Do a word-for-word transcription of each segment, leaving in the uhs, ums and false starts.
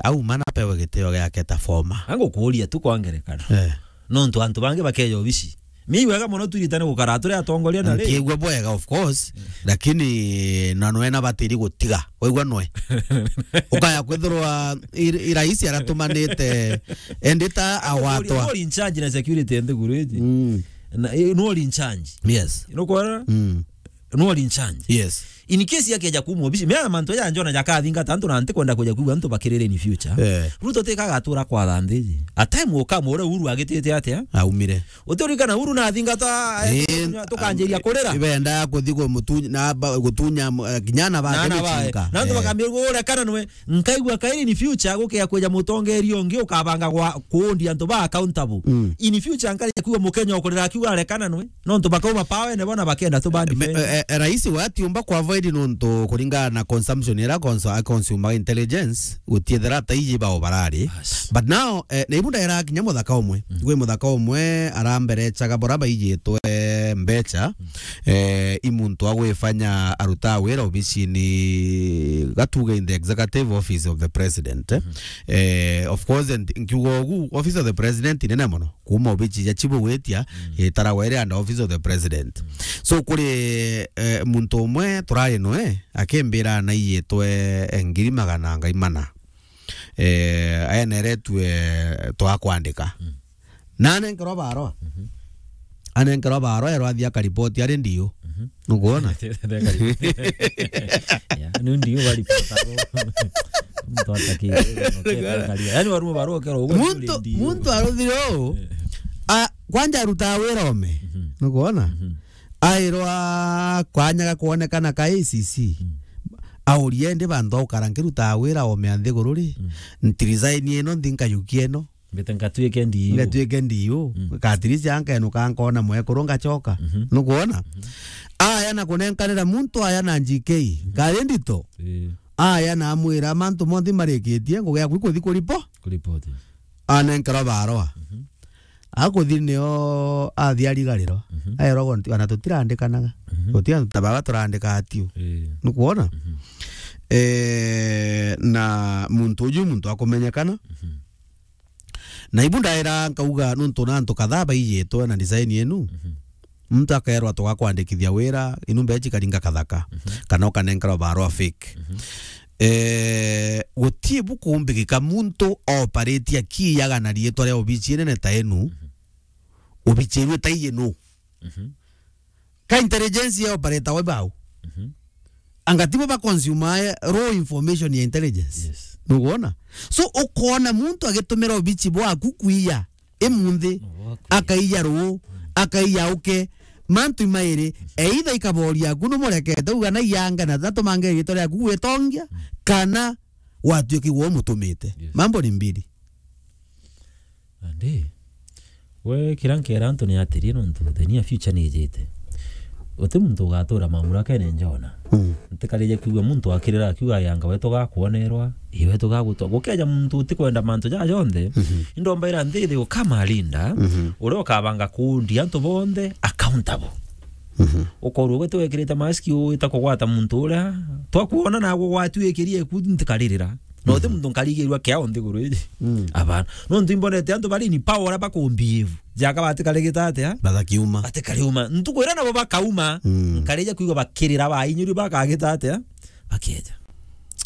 auma na apewe gitio giake ta former. Angukuuria tu kwa ngerekano. Eh. Nontu antu bangi bakeja obici. Mi wega mono twiritane gukara turi atongoria na ri. Nkiigua bwega, of course, lakini na nwe na batiri gutiga. Waigua nwe? Ukaya kwithirwa i, i raisi aratumanite endita agwatwa. Nwe uri in charge na security nthiguru iji. Mm. Na, eh, nwe uri in charge. Yes. Nukwona? Mm. Nwe uri in charge. Yes. In case yakeja kuuma obici, mea mantu ya njona jakathingata antu na ntikwenda kuja kuigua antu bakirire in future. Eh. Ruto tika agatura kwa thandiji. A time will come, uria Uhuru agitite atia? Aumire. Utirikana Uhuru na athingata, eh, eh, tukanjiria kurira. Ibenda kuthi kumutunya, na ba-, gutunya, eh, kinya ana bake. Na ana bae. Gucinka. Na antu, eh, bakambia, "Urekana nwe." Nkaigua kairi in future gukia kwija mutongeria ungi ukabanga gwa kuundi antu ba accountable. Mm. In future nkaja kuigua Mukenya ukurira akiuga, "Arekana nwe." Nontu bakauma pawene bona bakenda tu bandi. Me-, eh, eh, rais we atiumba ku avoid nontu kuringana na consumption ira consu-, a consumer intelligence, gutiethera ta iji bao barari. Yes. But now, eh, na ibu ndaira kinya muthaka umwe. Mm. Gwi muthaka umwe aramberechaga bora baijitwe mbecha, mm, eh, i muntu agwifanya aruta wira obicini gatuge in the executive office of the president, eh. Mm. Eh, of course, and nkiuga ugu, office of the president inene mono. Kuuma obici ja chibu gwitia, mm, itaragwa iri under office of the president. Mm. So, kuri, eh, muntu umwe turari nwe, akimbira naiyitwe, eh, ngiri magana ngai mana. Eh, aeneretue twa kwandika. Mm. Na anenkerwa barua. Mhm. Anenkerwa barua, erwa athie akaripoti ari ndiu. Mhm. Nukwona? Ya, ni ndiu baripota. Muntu ataki-, yani, warume barua ukero uguo. Muntu, muntu aruthire uu. Eh. A, kwanja arutaga wira ome. Mhm. Nukwona? Mhm. Airwa kwanya ga kwonekana ka A C C. Mm. Aurie ndi bantu aukara nkirutaa wira ome a nthiguru ri? Mm. Nti resign ino, nthi nkayukia ino. Mbite nkatuike ndiu. Ngatuike ndiu. Mm. Katirisi ankenuka nkona mwekuru ngachoka. Mhm. Nukwona? Mhm. Aya na kunenkanira muntu aya na G K. Mhm. Nkari ndito. Ii. Aya na amwira mantu monthe marikitie, ngugi yaku ikuthi kuripo-, kuripoti. Anenkerwa barua. Mhm. Akuthi nio athi arigarirwa. Mhm. Aerwa gonti, ana tutirandikanaga. Mhm. Guti antu ta baba turandika atiu. Ii. Nukwona? Mhm. Eh, na muntu uju muntu akumenyekana. Mhm. Na ibu ndaira nkauga nuntu na antu kadhaa baijitwe na design inu. Mhm. Muntu akerwa tugakwandikithia wira, inu mbechi karinga kathaka, mhm, kana ukanenkerwa barua fake. Mhm. Eh, guti bukumbikika muntu operate akiyaga na riitwa ria obici inene ta inu, mhm, obici inu ta iji nu. Mhm. Ka intelligence ya operator we bau. Mhm. Anga tibo ba consume raw information ya intelligence. Yes. Nukwona? So, ukona muntu agitumira obici bwaku kwiya imunthi, no, wakwiya, akaiya ruu, mm, akaiya uke, mantu imairi, mm, either ikaboria aku numurekete uga na iyanga na tatumange riitwa riaku gwitongia, mm, kana watuikigwa umutumite. Yes. Mambo ni mbili. Andi, we, kira nkera antu ni atiri, nontu the near future ni ijite. Uti muntu ugatura mamurakene njona. Mm. Ntikarije kwigua muntu akirira akiuga, "Yanga wetu gakwonerwa, i wetu gagutwa." Gukeja muntu utikwenda mantu ja jonthe, mhm, indombaira nthi ithi ukamarinda, mhm, uria ukabanga kundi antu bonthe accountable. Mhm. Ukorwo gwe tiwekirite mask uita kugwata muntu uria twakuona na gugwatuikirie ku ntikaririra. No ti, mhm, muntu nkarigirwa kiao nthiguru iji. Mm. Abana. Nontu imbonete antu bari ni power uria bakumbehave. Jaka batikarigita atia? Batakiuma. Batikariuma. Ntuku iria nabo bakauma, mm, nkarija kwigua bakirira bainyuri bakagita atia? Bakieja.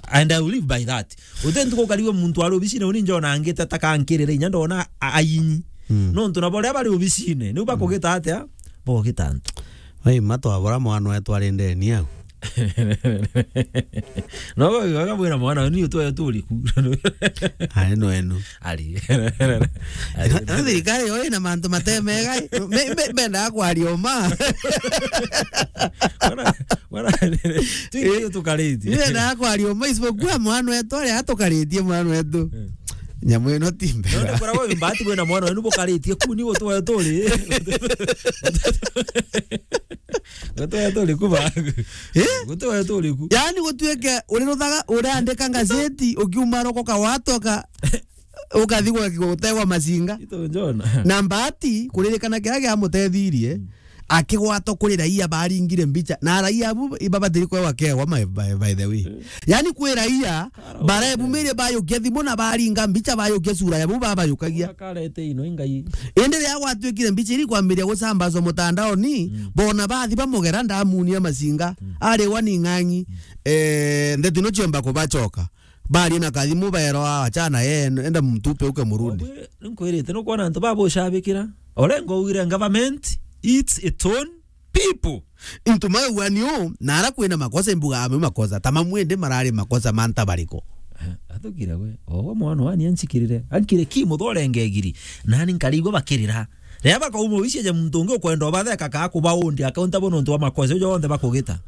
And I will live by that. Uti ntuku ukarigua muntu ari obicine uni njona angite atakankirira inya ndona a-, ainyi. Mm. Nontu nabo riria bari obicine, niu bakugita atia? Bogita antu. Ai, matwabora mwana wetu ari ndeni au. No, wega mwira mwana, ni utwe turi ku. Ari no enu. Ari. Ari. No, no, thirikari yo ina mantu matemega. Me, me, mendaga kwaria uma. Wana, wana, tuingi tukaritie. Mendaga kwaria uma, isipokuwa mwana wetu ari atukaritie mwana wetu. Eh. Nyamu ino ti mbega. None kura wewe mbati kwina mwana wenu bukaritie kuni gutwe turi. Gutwe turi kuba. Eh? Gutwe turi ku. Yaani gutuike uriruthaga, urandika ngazeti, ukiuma roko kawatoka, ukathi gwa, gutegwa macinga. Ito njona. Na mbati, kuririkana kiria giamutethirie, mm, akigwatwa kuri raia baringire mbicha. Na raia abu ibabatiri kwewa kewa, my, by, by the way. Yani, kwi raia barebumirie bayukia thimu na baringa mbicha, bayukia sura ya bu babayukagia. Karete ino ingai. Indi riria gwatuikire mbicha iri kwambiria gucambazwa mutandaoni, bona bathi bamugera ndamunia macinga, ariwa ni ng'ang'i. Eh, ndeto ino ciomba kubacoka. Baria na kathimu baerwa, "Achana yeye, enda mtupe uke murudi." Nkwirite, nukwona antu babucabikira. Orengo ugire government eats its own people. Into my one you, na ara kwina makosa imbuga ame makosa. Tama mwende marari makosa manta bariko. Eh, atukire we. Ogo mwana wani anchikirire. Ankire ki muthorenge giri. Nani nkarigwa bakirira. Riria bakauma uici eje muntu ungi ukwenda ubatheka ka kubaundia akaunta bo nontu wa makosa ujo onthe bakugita.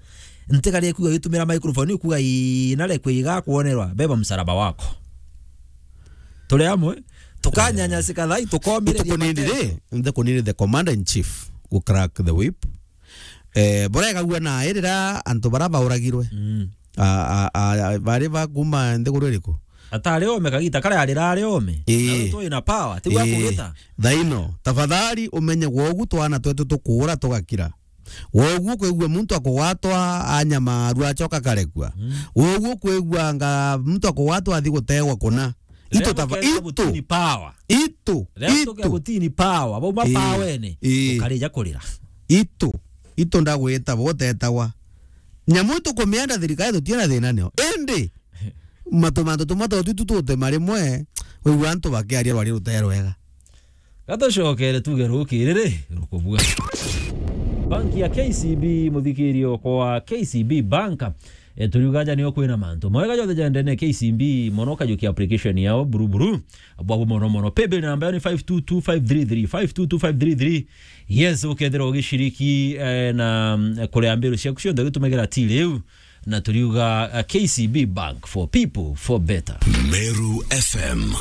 Ntigari kuga gitumira microphone ukuga ii nare kwiga kuonerwa beba msalaba wako. Turi amwe tukanyanyasika thai tukomire. Ntukunini ri, ntukunini the commander in chief gu crack the whip. Eh, burega gua na irira antu bara bauragirwe. Mm. A, a, a, bari ba kuma nthiguru iriku? Atari ome kagita kare arira ari ome. Ii. Na tu ina power, ti gwa kugita. Thaino, tafadhali umenye gwogu twana twetu tukura tugakira. Gwogu kwigua muntu akugwatwa anyamaru acoka karekua. Mm. Gwogu kwigua nga muntu akugwatwa athi gutegwa kuna. Itu tafa-, itu. Gutini power. Itu. Leo tuke gutini power. Bau ma power ene. Ii. Ukarija kurira. Itu. Itu ndagwita botetagwa. Nyamu itu kumienda thirikari tutina thina nio. Indi. Matu mantu tumwe twa tutu tutema rimwe, wigua antu bakiaria rwari rute rwega. Gatucokere tuge rukiri ri, rukubua. Banki ya K C B, muthikirio kwa K C B Bank. E, turiuga aja nio kwina mantu. Mawega jonthe jendene K C B, mono kajukia application yao, buru buru. Bwabu mono mono. Paybill namba yao ni five two two five three three, five two two five three three. Yes, ukethira ugiciriki, eh, na, mm, kuria mbiru ciaku cionthe ugitumagira till riu. Na turiuga, uh, K C B Bank for people, for better. Meru F M.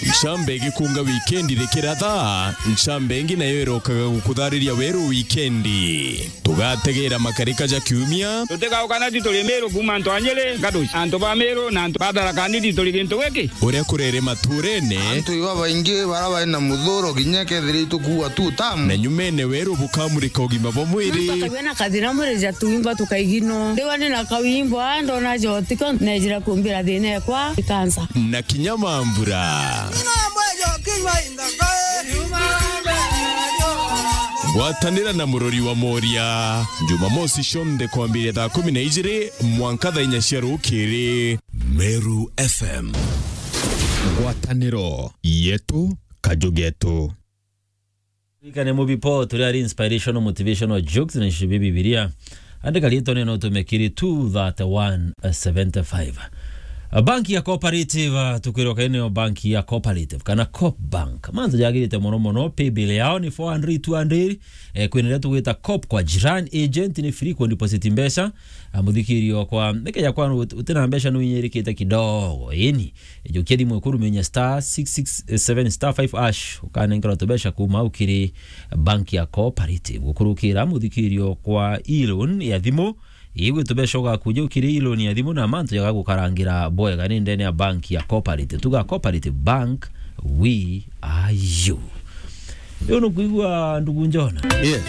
Ncambe igikunga wikendi rikiratha, ncambe ingi nayo irokaga gukuthariria weru wikendi. Tugategera makarika ja kiumia. Tutigauka na ti turi Meru kuuma antu a Nyeri, Gaduci, antu ba Meru na antu ba Tharaka Nithi turi gintu giki. Uria kurere maturene. Antu iba baingi bara bari na muthuro kinya kethira itukuua tu tamu. Na nyumene weru bukamurika ugima bwa mwiri. Muntu akagua na kathina mwiri ja tuimba tukaigino. Ndigwa ni na kawimbo, a, ndona jotiko, nejira kumbira thina ekwa, ikansa. Na kinya mambura. Ngwatanira na murori wa Moria. Jumamosi cionthe kwambiria thaa kumi na ijiri mwanka thaa inya cia rukiri. Meru F M. Ngwataniro yetu, kaju getu. Ikane mubipo turi ari inspirational, motivational jokes na nshibi Bibilia. Andika riitwa neno utume kiri two thirty-one seventy-five. Banki ya Cooperative, tukwirwa kaini yo banki ya Cooperative, kana Coop Bank. Mantu jagirite mono mono, paybill yao ni four hundred, two hundred, eh, kwina iria tugwita Coop kwa jirani, agent ni free ku deposit mbeca. Ah, muthikirio kwa, nikeja kwa ut-, utina mbeca nuinyirikite kidogo, ini. Jukia thimu ikuruminya star six six seven star five hash, ukanenkerwa tubeca kuma au kiri banki ya Cooperative. Gukurukira muthikirio kwa e-loan ya thimu, igwi tubeca ugakuja ukiri e-loan ya thimu na mantu jagagukarangira bwega ni ndene ya banki ya Cooperative. Tuga Cooperative Bank, we are you. Riu nukwigua ndugu Njona? Yes.